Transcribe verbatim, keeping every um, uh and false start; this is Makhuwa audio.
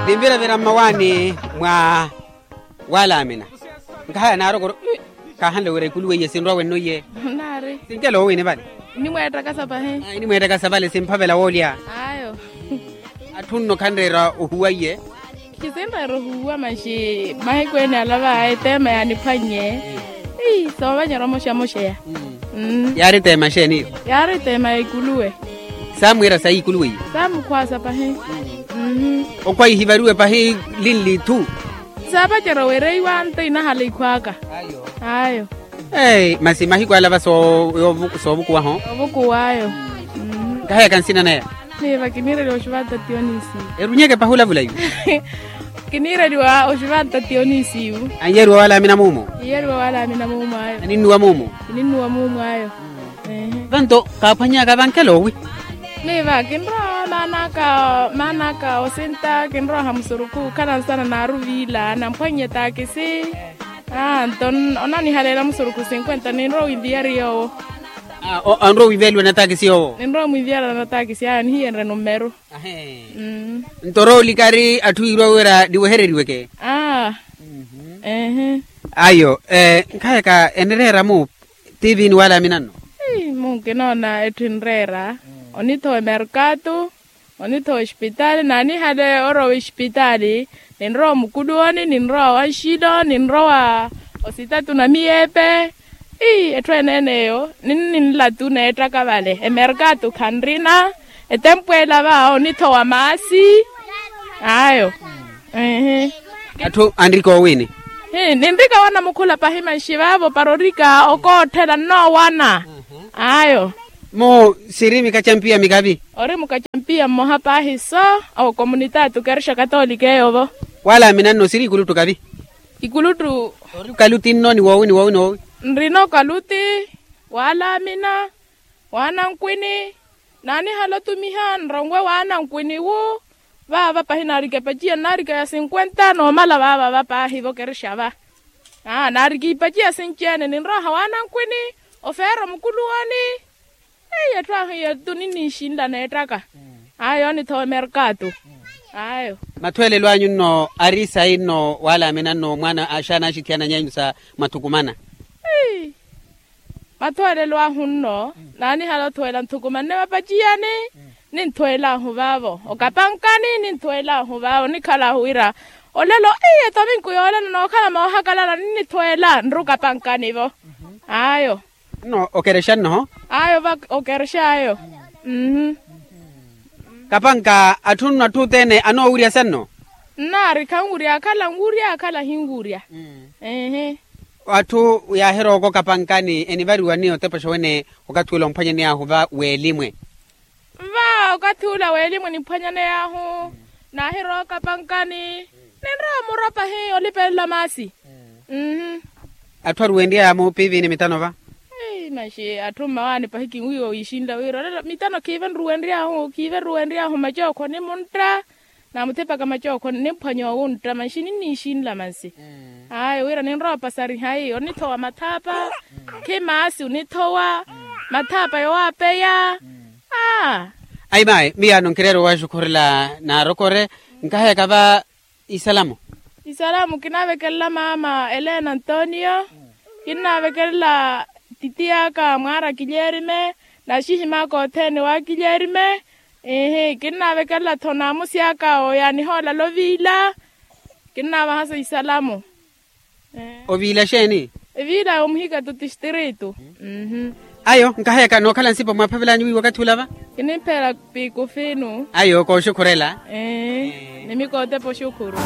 Vinviravira mmawaani mwa walamina. Nkahaya naari okoro. Kaahanle wira ikulu weiye sinrwa wenno iye. Naari. Sinkela owiini vale. Inimweettaka sapahi. Inimweettaka savale simphavela woolya. Ayo. Atthu nno khanreera ohuwa iye. Kisinreera ohuwa maxi mahiku ene alava eteema yaaniphwannye. Soovanyerya omoxeya moxeya. Yaari teema xeeni iyo? Yaari teema ya ikuluwe. Saamwiira sayi ikuluwe iyo? Saamukhwaasa pahi. Okhwa ihivariwe pahi linli itthu. Saapacerya owereiwa nto inahala ikhwaaka. Ayo. Masi mahiku alava soovukuwaho. Soovukuwa ayo. Nkahayaka nsina naya? Niiva kiniireliwa oxuvatta tiyonisiyu. Erunyeke pahi olavula iwe. Kiniireliwa oxuvatta tiyonisiyu. Anyiyeriwa walamina muumo? Anyiyeriwa walamina muumo ayo. Aninnuwa muumo? Ininnuwa muumo ayo. Vanto kaaphwanyaka vankela owi? Niiva kinrowa maanaka maanaka osinta kinrowa ha musurukhu okhala nsana naaruviila namphwannye taakisi. Nto onanihaleela musurukhu sinkwenta ninrowa winviyari yoowo. Anrowa winviyaliwa na taakisi yoowo? Ninrowa mwinviyala na taakisi aya nihiyenre nummeru. Nto rowa olikari atthu yiiriwa wira niwehereriweke. Ayo. Nkhayaka enireera mu tivi niwalaminanno? Mu nkinoona etthu enreera onithowa emerkatu, onithowa oxipitaali naanihale orowa exipitaali. Ninrowa omukuluwoni ninrowa wanxilo ninrowa ositatu na miyeepe. Etthu eneen'eyo ninninlatu neettaka vale emerkatu khanrina. Etempu ela va onithowa maasi. Ayo. Atthu anrika owiini? Ninrika wanamukhula pahi manxi vaavo para orika okootthela nnoowana. Ayo. Mu siri mikacampiya mikavi? Ori mukacampiya mmoha paahi so, okomunitati okerexa katolika eyo vo. Walaminanno siri ikuluttu kavi? Ikuluttu. Ori okaluti nno ni woowi ni woowi ni woowi? Nrina okaluti, walamina, waanankwini. Naanihala otumiha nrongwe waanankwini wu. Vaava pahi naarika epaciya nnaarika ya sinkwenta noomala vaava va paahi vokerexa va. Naarika ipaciya sinci-ene ninroha waanankwini, ofeera omukuluwoni. Eyi etthu ahu iyo tu ninniixinla neettaka. Ayo onithowa emerkatu. Ayo. Mathuwelelo anyu nno ari sayi nno walamina nno mwaana axaana axithiyananyu sa mwathukumana? Mathuwelelo ahu nno naanihala othuwela nthukumanne vapaciyani. Ninthuwel'ahu vaavo okapankani ninthuwel'ahu vaavo onikhal'ahu wira olelo. Eyi etominku yoolelo nookhala moohakalala ninnithuwela nri okapankani vo. Ayo. Nno okerexa nnoho? Ayo va okerexa ayo. Kapanka atthu nno atthu othene anoowirya sanno? Nnaari khanwurya akhala nwurya akhala ahinwurya. Ehe. Atthu yaahirowa okapankani enivariwa ni otepexa wene okathi ula omphwanyaney'ahu va weelimwe? Mva okathi ula weelimwe nimphwanyaney'ahu naahirowa okapankani. Ninrowa omurwa pahi olipelela maasi. Atthu aruwenry'aya mu piivini mitano va? Maxi atthu mmawaani pahi kinwiiwa wiixinla wira olelo mitano khiive nruwenry'ahu khiive nruwenry'ahu macookho nimuntta. Naamuthipaka macookho nimphwanya owuntta maxi ninniixinla mansi. Ayo wira ninrowa opasariha eyi onithowa mathaapa. Khimaasi onithowa mathaapa yowaapeya. Ayi mayi miyaano nkireera owaxukhurela naarokore. Nkahayaka va isalamu. Isalamu kinaavekelela maama elena antonio. Kinnaavekelela titiy'aka mwaara kilyerime n'axihim'aka othene wa kilyerime. Ihi kinnaavekelela-tho naamusi aka oyaaniha olala oviila. Kinnaavahasa isalamu. Oviila xeeni? Eviila ya omuhika tu tistiritu. Ayo nkahayaka nookhala nsipa mwaaphavel'anyu wiiwa okathi ula va? Kinimphela piikufinu. Ayo kooxukhurela. Ni mikootepa oxukhuru.